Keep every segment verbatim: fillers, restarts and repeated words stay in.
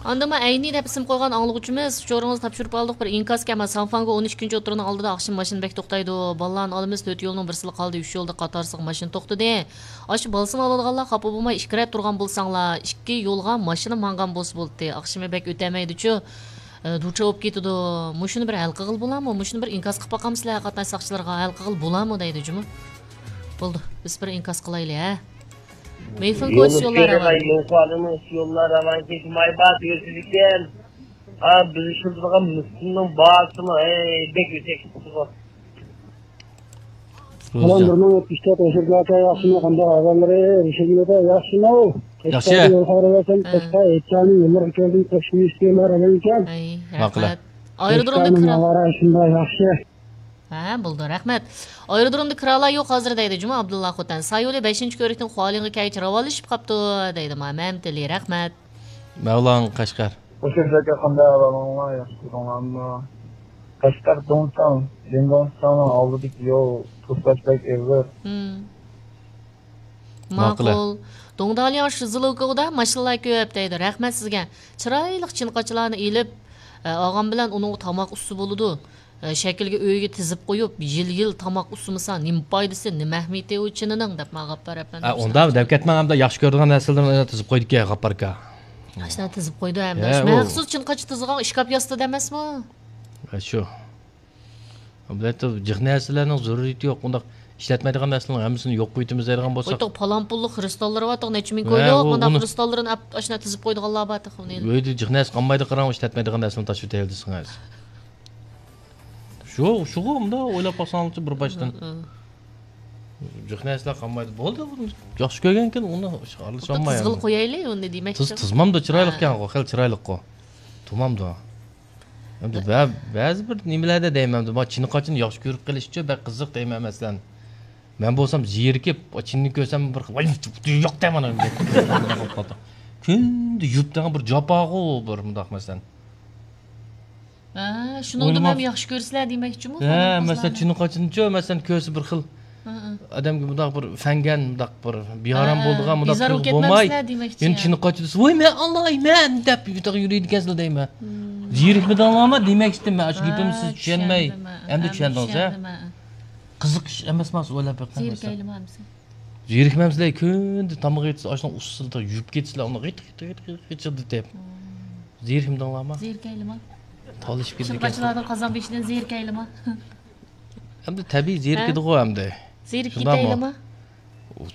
ئاندىن ما ئەينى دەپ ئىسىم قويغان ئاڭلىغۇچىمىز، ئۇچۇرىڭىزنى تاپشۇرۇپ ئالدۇق، بىر ئىنكاسكەن، ما سانفاڭگو ئون ئىككىنچى ئوتتۇرىنىڭ ئالدىدا ئاخشىمى ماشىنا بەك توختايدۇ، بالىلارنى ئالىمىز، تۆت يولنىڭ بىرسىلا قالدى، ئۈچ يولدا قاتارسىغا ماشىنا توختىدى. ئاشۇ بالىسىنى ئالىدىغانلار خاپا بولماي ئىككى رەت تۇرغان بولساڭلار، ئىككى يولغا ماشىنا ماڭغان بولسا بولدى، ئاخشىمى بەك ئۆتەلمەيدىچۇ، ئە، دۇچا بولۇپ كېتىدۇ. مۇشۇنى بىر ھەل قىلغىلى بولامۇ؟ مۇشۇنى بىر ئىنكاس قىلىپ باقامسىلەر قاتناش ساقچىلىرىغا، ھەل قىلغىلى بولامۇ دەيدۇ جۇمۇ. بولدى، بىز بىر ئىنكاس قىلايلى ھە. مېيفىن كويس يوللار راۋان. يوللار راۋان كېلىش مايبات ئۆتىدىكەن. ھا، بىز ئىشلىتىدىغان مىسكىننىڭ باھاسىمۇ، ئەي، بەك يۈكسەك چىقىپتۇ. سالام، بىر مىڭ يەتمىش تۆت ئەشىركە ئاكا، ياخشىمۇ؟ قانداق ئەھۋاللىرى؟ ئىشىڭلاردا ياخشىمۇ؟ ياخشى. قەشقەرگە يول خەۋىرى بەرسەم، ھە. قەشقەر ئېيتچانىڭ يوللىرى كەلدىم، قوشۇم ئىشلىرىمۇ ئەۋەلكەن. ئەي، ماقۇل. رەھمەت. ئايرودرومدا قەشقەرنىڭ كىرا- ھاۋا رايى شۇنداق ياخشى. ھە، بولدى، رەھمەت. ئايرودرومدا كىرالار يوق ھازىر دەيدۇ جۇمۇ ئابدۇللا خوتەن. سايولى بەشىنچى كۆۋرۈكتىن خۇالىڭغا كەلگىچە راۋانلىشىپ قاپتۇ دەيدۇ ما مەمتىلى، رەھمەت. مەۋلان قەشقەر. خوش ئەمىسەكە، قانداق ئەھۋالىڭلار؟ ياخشى تۇردۇڭلارمۇ؟ قەشقەر دۇڭساڭ، دىڭدوڭساڭنىڭ ئالدىدىكى يول توسۇلۇش بەك ئېغىر. ھىم. ماقۇل. ماقۇل. دۇڭدالياڭ شىزلوكودا ماشىنىلار كۆپ دەيدۇ. رەھمەت سىزگە. چىرايلىق چىنقاچىلارنى ئېلىپ، ئە، ئالغان بىلەن ئۇنىڭغا تاماق ئۇسسا بولىدۇ. ئە، شەكىلگە ئۆيگە تىزىپ قويۇپ، يىل-يىل تاماق ئۇسسىمىسا، نېمە پايدىسى، نېمە ئەھمىيىتى ئۇ چىنىنىڭ دەپ ماڭا غاپپار ئەپەندىم. ئە، ئۇنداق دەپ كەتمەڭ، ئەمدى ياخشى كۆرىدىغان نەرسىلىرىنى تىزىپ قويدىكەن غاپپاركا. ئاشۇنداق تىزىپ قويدى ئەمدى. ھە، ئاشۇ ئۇ مەخسۇس چىنقاچ تىزغان ئىشكاپ ياسىتىدۇ ئەمەسمۇ؟ ھە، شۇ. بۇ يەردە جىق نەرسىلەرنىڭ زۆرۈرىيىتى يوق. ئۇنداق ئىشلەتمەيدىغان نەرسىلەرنىڭ ھەممىسىنى يوق قويۇۋېتىمىز دەيدىغان بولساق. ئويتۇق پالان پۇللۇق خرۇستاللىرى بارتۇق، نەچچە مىڭ ھە، كويلۇق، ئۇ، مۇنداق ئۇنى خرۇستاللىرىنى ئەپ، ئاشۇنداق تىزىپ قويىدىغانلار بارتۇق، ئۇنى. ئۆيدە جىق نەرسە قالمايدۇ، قاراڭ، ئىشلەتمەيدىغان نەرسىنى تاشلىۋېتەيلى دېسىڭىز. شۇ، شۇغۇ، مۇنداق ئويلاپ باقساڭلارچۇ بىر باشتىن. ھە، ھە. جىق نەرسىلەر قالمايدۇ. بولدى، ياخشى كۆرگەنكىن ئۇنى ئارىلىشالمايمەن. تىزغىلى قويايلى ئۇنى دېمەكچى. تىز، تىزمامدۇ، چىرايلىقكەنغۇ، خېلى چىرايلىققۇ. تۇمامدۇ. ئەمدى بە-، بەزى بىر نېمىلەردە دەيمەن، ئەمدى ما چىنقاچنى ياخشى كۆرۈپ قېلىشچۇ، بەك قىزىق دەيمەن، مەسىلەن. مەن بولسام زېرىكىپ، چىننى كۆرسەم بىر خىل، ۋاي، يوق دەيمەن. كۈندە يۇيۇپ دەيمەن بىر جاپاغۇ، بىر مۇنداق مەسىلەن. ھە، شۇنىڭدىمۇ ھەم ياخشى كۆرىسىلەر دېمەكچىمۇ؟ ھە، مەسىلەن، چىنقاچنىچۇ، مەسىلەن، كۆرسە بىر خىل. ھە، ھە. ئادەمگە مۇنداق بىر فەڭگەن، مۇنداق بىر بىئارام ھە، بولىدىغان، مۇنداق بىزار بولۇپ كەتمەمسىلەر دېمەكچى. يەنە چىنقاچ دېسە، ۋاي، مەن ئالايمەن دەپ، يۈرىدىكەنسىلەر دەيمەن. زېرىكمىدىڭلارمۇ دېمەكچىدىم مەن، ئاشۇ گېپىمنى سىز چۈشەنمەي. ئەمدى چۈشەندىڭىز، ھە؟ قىزىق ئىش ئەمەسمۇ، ئويلاپ بېقىڭ. زېرىكەيلىما ئەمىسە؟ زېرىكمەمسىلەر، كۈندە تاماق يېتىسىلەر، ئاشۇنىڭ ئۇستىسىدا يۇيۇپ كېتىسىلەر، ئۇنى غىت، غىت، غىت، غىت، غىت دېتىپ. زېرىكمىدىڭلارمۇ؟ زېرىكەيلىما؟ تالىشىپ كېتىدىكەنسىلەر. چىنقاچلارنىڭ قازان بېشىدىن زېرىكەيلىما؟ ئەمدى تەبىئىي زېرىكىدىغۇ ئەمدى. زېرىكىپ كېتەيلىما؟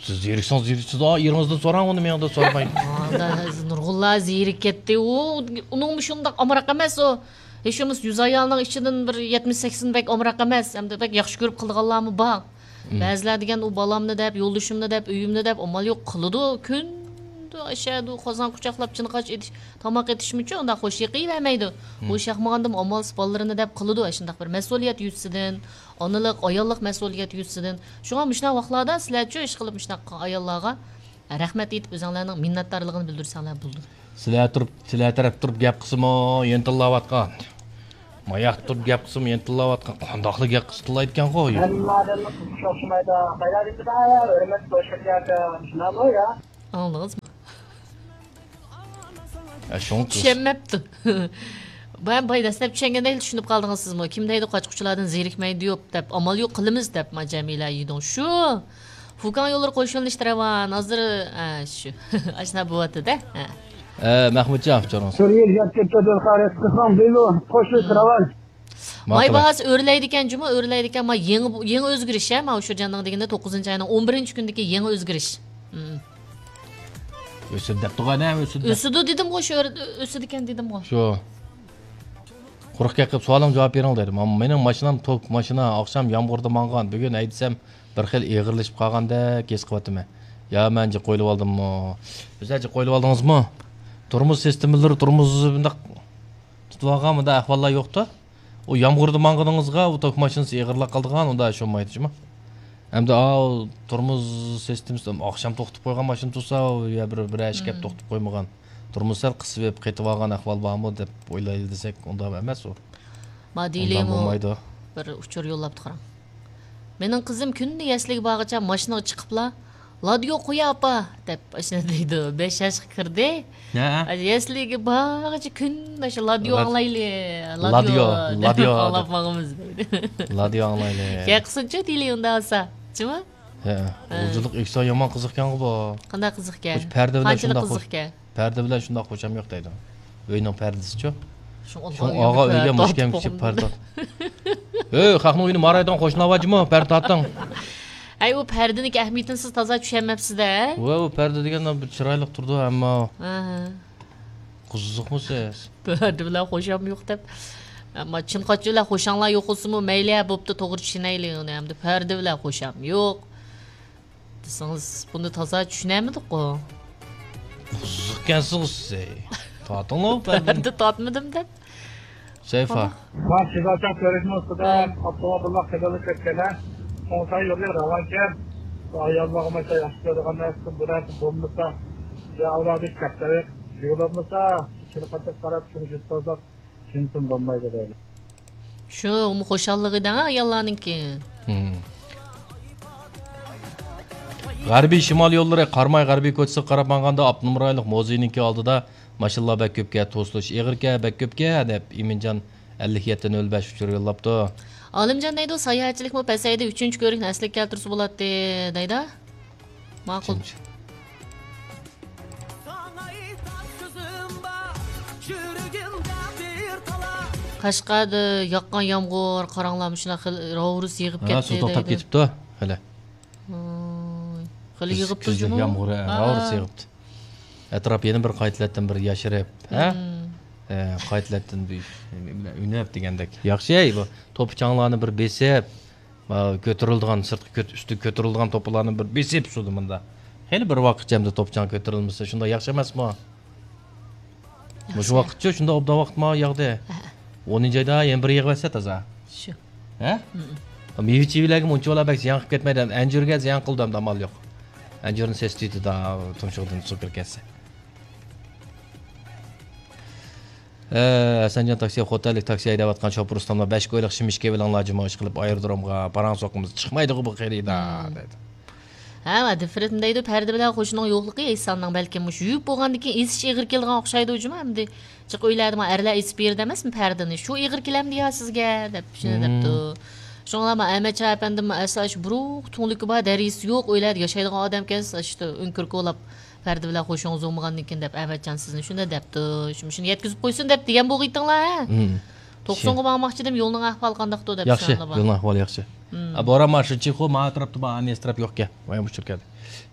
سىز زېرىكسىڭىز، زېرىكسىز، ئا، ئېرىڭىزدىن سوراڭ ئۇنى، مېڭىڭدىن سورىماي. ئادا، نۇرغۇنلار زېرىكىپ كەتتى. ئۇ، ئۇنىڭمۇ شۇنداق ئامراق ئەمەس ئۇ. ھېچ بولمىسا يۈز ئايالنىڭ ئىچىدىن بىر يەتمىش سەكسىن بەك ئامراق ئەمەس. ئەمدى بەك ياخشى كۆرۈپ قىلىدىغانلارمۇ بار. مم. بەزىلەر دېگەن ئۇ بالامنى دەپ، يولدىشىمنى دەپ، ئۆيۈمنى دەپ، ئامال يوق قىلىدۇ. كۈندە ئەشەدۇ، قازان قۇچاقلاپ، چىنقاچ ئېتىش، تاماق ئېتىشمىچۇ ئۇنداق خوش يېقىۋەرمەيدۇ. مم. بوشاق ماڭغاندىمۇ ئامالسىز بالىلىرىنى دەپ قىلىدۇ ئاشۇنداق بىر مەسئۇلىيەت يۈزىسىدىن، ئانىلىق، ئاياللىق مەسئۇلىيەت يۈزىسىدىن. شۇڭا مۇشۇنداق ۋاقىتلاردا سىلەرچۇ ئىشقىلىپ مۇشۇنداق ئاياللارغا رەھمەت ئېيتىپ ئۆزۈڭلارنىڭ مىننەتدارلىقىنى بىلدۈرسەڭلار بولىدۇ. سىلەر تۇرۇپ، سىلەر تەرەپ تۇرۇپ گەپ قىلسىمۇ يەنە تىللاۋاتقان. ماياق تۇرۇپ گەپ قىلسىمۇ يەنە تىللاۋاتقان. قانداقلا گەپ قىلسا تىللايدىكەنغۇ؟ ھەممە ئادەمنىڭ قىزىقىشى ئوخشىمايدۇ. قايلاردىن بىدايە ھۆرمەت بولۇشىدىكەن. شۇنداقمۇ يا؟ ئاڭلىدىڭىزمۇ؟ ئە، شۇڭا چۈشەنمەپتۇ. بايام باي دەسلەپ چۈشەنگەندەكلا چۈشىنىپ قالدىڭىز سىزمۇ. كىم دەيدۇ قاچا-قۇچىلاردىن زېرىكمەيدۇ يوق دەپ، ئامال يوق قىلىمىز دەپ، ما جەمىلە يىدۇڭ شۇ. فۇكاڭ يوللىرى قوشۇلۇشتى راۋان. ھازىر، ئە، شۇ. ئاشۇنداق بوۋاتىدۇ-دە. ھە. ئە، مەخمۇتجان، ئۇچۇرىڭىز. سۈرگۈن گەپ كەپتۇ، دىلخار، قىلساڭ بىلۇ، قوشۇلۇشتى راۋان. ماي باھاسى ئۆرلەيدىكەن جۇمۇ، ئۆرلەيدىكەن. ما يېڭى، يېڭى ئۆزگىرىش، ھە، ما ئۇشۇرجاننىڭ دېگىنىدە توققۇزىنچى ئاينىڭ ئون بىرىنچى كۈنىدىكى يېڭى ئۆزگىرىش. مم. ئۆسىدۇ دەپتۇغۇ، ئەنە ئۆسىدۇ دەپ. ئۆسىدۇ دېدىمغۇ، شۇ ئۆر-، ئۆسىدىكەن دېدىمغۇ. شۇ. قۇرۇق گەپ قىلىپ سوئالىمغا جاۋاب بېرىڭ دەيدۇ. ما-، مېنىڭ ماشىنام توك ماشىنا، ئاخشام يامغۇردا ماڭغان، بۈگۈن ھەيدىسەم بىر خىل ئېغىرلىشىپ قالغاندەك ھېس قىلىۋاتىمەن. يا مەن جىق ئويلىۋالدىممۇ؟ ئۆزى جىق ئويلىۋالدىڭىزمۇ؟ تورمۇز سىستېمىلىرى، تورمۇزى مۇنداق تۇتۇۋالغان مۇنداق ئەھۋاللار يوقتۇ. ئۇ يامغۇردا ماڭغىنىڭىزغا ئۇ توك ماشىنىسى ئېغىرلاپ قالىدىغان، ئۇنداق ئىش بولمايدۇ جۇمۇ. ئەمدى ئاۋۇ تورمۇز سىستېمىسى ئاخشام توختىتىپ قويغان ماشىنا تۇرسا، ئۇ يا بىر، بىرەر ئىش كەپ توختىتىپ قويمىغان. تورمۇز سەل قىسىۋېلىپ قېتىۋالغان ئەھۋال بارمۇ دەپ ئويلايلى دېسەك، ئۇنداق ئەمەس ئۇ. ما دېيلىمۇ بىر ئۇچۇر يوللاپتۇ قاراڭ. مېنىڭ قىزىم كۈندە يەسلىگە بارغىچە ماشىنىغا چىقىپلا، لادىيو قويا ئاپا دەپ ئاشۇنداق دەيدۇ. بەش ياشقا كىردى. ھە. يەسلىگە بارغىچە كۈن ئاشۇ لادىيو ئاڭلايلى. لادىيو، لادىيو دەپ لادىيو ئاڭلاپ ماڭىمىز دەيدۇ. لادىيو ئاڭلايلى. كەل قىلسۇنچۇ دېيلى ئۇنداق بولسا. جۇمۇ؟ ھە. ھە. غۇلجىلىق ئۆكسە يامان قىزىقكەنغۇ بۇ. قانداق قىزىقكەن؟ قاچىلىك قىزىقكەن؟ پەردە بىلەن شۇنداق خوشام يوق دەيدۇ. ئۆينىڭ پەردىسىچۇ؟ شۇڭ ئاغا ئۆيگە مۇشكەم كىشى پەردە. ئۆي، خەقنىڭ ئۆيىنى مارايدىغان قوشنىلار بارجىمۇ؟ پەردە تارتىڭ. ئەي، ئۇ پەردىنىڭكى ئەھمىيىتىنى سىز تازا چۈشەنمەپسىز-دە. ۋە، ئۇ پەردە دېگەن بىر چىرايلىق تۇرىدۇ، ئەمما ئاھا. قىزىقمۇ سىز؟ پەردە بىلەن خوشام يوق دەپ. ئەمما چىن قاچا بىلەن خوشاڭلار يوق بولسىمۇ مەيلى، ھە، بوپتۇ، توغرا چۈشىنەيلى ئۇنى. ئەمدى پەردە بىلەن خوشام يوق دېسىڭىز، بۇنى تازا چۈشىنەلمىدۇققۇ. قىزىقكەنسىز سىز. تارتىڭلار پەردىنى. پەردە تارتمىدىم دەپ. سەيفا. مانا شىزاچان كۆرۈشنىڭ ئۈستىدە ئاپتوموبىللار قىلىنىپ كەتكەن. ئوڭساي يولى راۋانكەن. ئاياللارغىمۇ ياخشى كۆرىدىغان نەرسە بۇ نەرسە بولمىسا، يا ئۇلارنى كەپتەرەك يۇلۇرمىسا، چىلقىتىپ قاراپ شۇنى يۈز سوزۇپ، چىنتىن بولمايدۇ دەيدۇ. شۇ خۇشاللىقى دەڭ ئاياللارنىڭكى. ھىم. غەربىي شىمال يوللىرى قاراماي غەربىي كوچىسىغا قاراپ ماڭغاندا، ئاپتونوم رايونلۇق مۇزېينىڭكى ئالدىدا ماشىنىلار بەك كۆپكەن، توسۇلۇش ئېغىركەن، بەك كۆپكەن، دەپ ئىمىنجان ئەللىك يەتتە نۆل بەش ئۇچۇر يوللاپتۇ. ئالىمجان دەيدۇ، ساياھەتچىلىكمۇ پەسەيدى، ئۈچىنچى كۆۋرۈكنى ئەسلىگە كەلتۈرسە بولاتتى، دەيدۇ. ماقۇل. ئۈچىنچى. قەشقەردە ياغقان يامغۇر، قاراڭلار، مۇشۇنداق خېلى راۋۇرۇس يېغىپ ھە، كەتتى سۇ توختاپ دەيدۇ. كېتىپتۇ، خېلى. ۋاي، خېلى يېغىپتۇ كۈزلۈك جۇمۇ. يامغۇر، ھە، ھە. راۋۇرۇس يېغىپتۇ. ئەتراپ يەنە بىر قايتىلەتتىن بىر ياشىرىپ، ھە؟ مم. ھە، قايتىلەتتىن بىر نېمە بىلەن ئۈنۈپ دېگەندەك. ياخشى، بۇ توپا-چاڭلارنى بىر بېسىپ، ھە، كۆتۈرۈلىدىغان، سىرتقا كۆت-، ئۈستىگە كۆتۈرۈلىدىغان توپىلارنى بىر بېسىپ سۇدا مۇندا. خېلى بىر ۋاقىتچە ئەمدى توپا-چاڭ كۆتۈرۈلمىسە، شۇنداق ياخشى ئەمەسمۇ؟ مۇشۇ ياخشى. ۋاقىتچۇ، شۇنداق ئوبدان ۋاقىت ماڭا ياغدى. ھە. ئونىنچى ئايدا يەنە بىر يىغىۋەتسە تازا. شۇ. ھە؟ مم. مېۋە-چېۋىلەرگە مۇنچىۋالا بەك زىيان قىلىپ كەتمەيدۇ. ئەنجۈرگە زىيان قىلىدۇ ئەمدى، ئامال يوق. ئەنجۈرنى سېسىتىۋېتىدۇ، تۇمشۇقىدىن سۇ كىرىپ كەتسە. ھە، ھەسەنجان تاكسى، خوتەنلىك تاكسى ھەيدەۋاتقان شوپۇر ئۇستاملار، بەش كويلۇق شىمىشكا بېلىڭلار جۇمۇ، ئىشقىلىپ ئايرودرومغا پاراڭ سوقىمىز، چىقمايدىغۇ بۇ خېرىدار، مم. دەيدۇ. ھە، ۋە دىفرېنت دەيدۇ، پەردە بىلەن خوشنىڭ يوقلۇقى ئېيتساننىڭ بەلكىم مۇشۇ يۇيۇپ بولغاندىن كېيىن ئېسىش ئېغىر كېلىدىغان ئوخشايدۇ جۇمۇ، ئەمدى جىق ئۆيلەردىمۇ ئەرلەر ئېسىپ بېرىدۇ ئەمەسمۇ پەردىنى، شۇ ئېغىر كېلەمدۇ يا سىزگە دەپ شۇنى دەپتۇ. شۇڭلارمۇ ئەمەتجان ئەپەندىممۇ ئەسلا شۇ بۇرۇق تۈڭلۈكى بار، دەريىسى يوق ئۆيلەردە ياشايدىغان ئادەمكەنسىز، ئاشۇ ئۆڭكۈر كولاپ پەردە بىلەن خوشىڭىز بولمىغاندىن كېيىن دەپ ئەمەتجان سىزنى شۇنداق دەپتۇ. شۇ-، شۇنى يەتكۈزۈپ قويسۇن دەپ دېگەن بولغىيتىڭلار ھە؟ مم. توقسۇنغا بارماقچىدىم، يولنىڭ ئەھۋالى قانداقتۇ دەپ ياخشى، سوراڭلار بار. يولنىڭ ئەھۋالى ياخشى. مم. ئا، بوران مارشال چىخو ما ئەتراپتا بار، ئەنە ئەتراپ يوقكەن. مايا مۇشۇ كەلدى.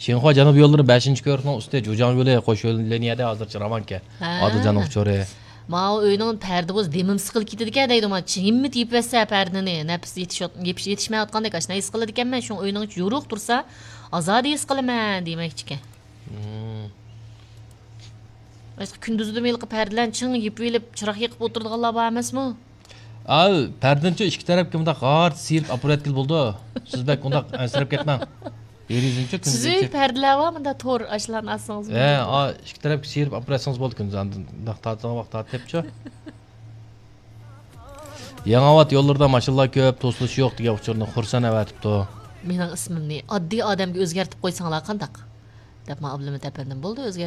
شىنخۇا جەنۇب يوللىرى بەشىنچى كۆۋرۈكنىڭ ئۈستى، جۇجاڭ يولى، قوش يول لىنىيەدە ھازىرچە راۋانكەن. ھە. ئادىلجاننىڭ ئۇچۇرى. ماۋۇ ئۆينىڭ پەردە بولسا دېمىم سىقىلىپ كېتىدىكەن دەيدۇ، ما چىڭىممىت يېپىۋەتسە پەردىنى، نەپىس يېتىش-، يېپىش-، يېتىشمەيۋاتقاندەك ئاشۇنداق ھېس قىلىدىكەنمەن، شۇڭا ئۆينىڭ ئىچى يورۇق تۇرسا ئازادە ھېس قىلىمەن دېمەكچىكەن. مم. ئاشۇ كۈندۈزدىمۇ ھېلىقى پەردىلەرنى چىڭ يېپىۋېلىپ، چىراغ يېقىپ ئولتۇرىدىغانلار بار ئەمەسمۇ؟ ئاۋۇ پەردىنىچۇ ئىككى تەرەپكە مۇنداق غارت سىيرىپ ئاپىرىۋەتكىلى بولىدۇ. سىز بەك ئۇنداق ئەنسىرەپ كەتمەڭ. دېرىزىنىچۇ كۈندۈزى سىز ئۆي ئېچىپ. پەردىلەر بار، مۇنداق تور ئاشۇلارنى ئالسىڭىز ھە، بولىدۇ. ئا، ئىككى تەرەپكە سىيرىپ ئاپىرىۋەتسىڭىز بولىدۇ كۈندۈز. ئاندىن مۇنداق تارتىدىغان ۋاقىت تارتىپ كەپچۇ. يېڭىئاۋات يوللىرىدا ماشىنىلار كۆپ، توسۇلۇش يوق دېگەن ئۇچۇرنى خۇرسەن ئەۋەتىپتۇ. مېنىڭ ئىسمىمنى ئاددىي ئادەمگە ئۆزگەرتىپ قويساڭلار قانداق؟ دەپ ماڭا ئابلىمىت ئەپەندىم، بولدى، ئۆزگەرتىپ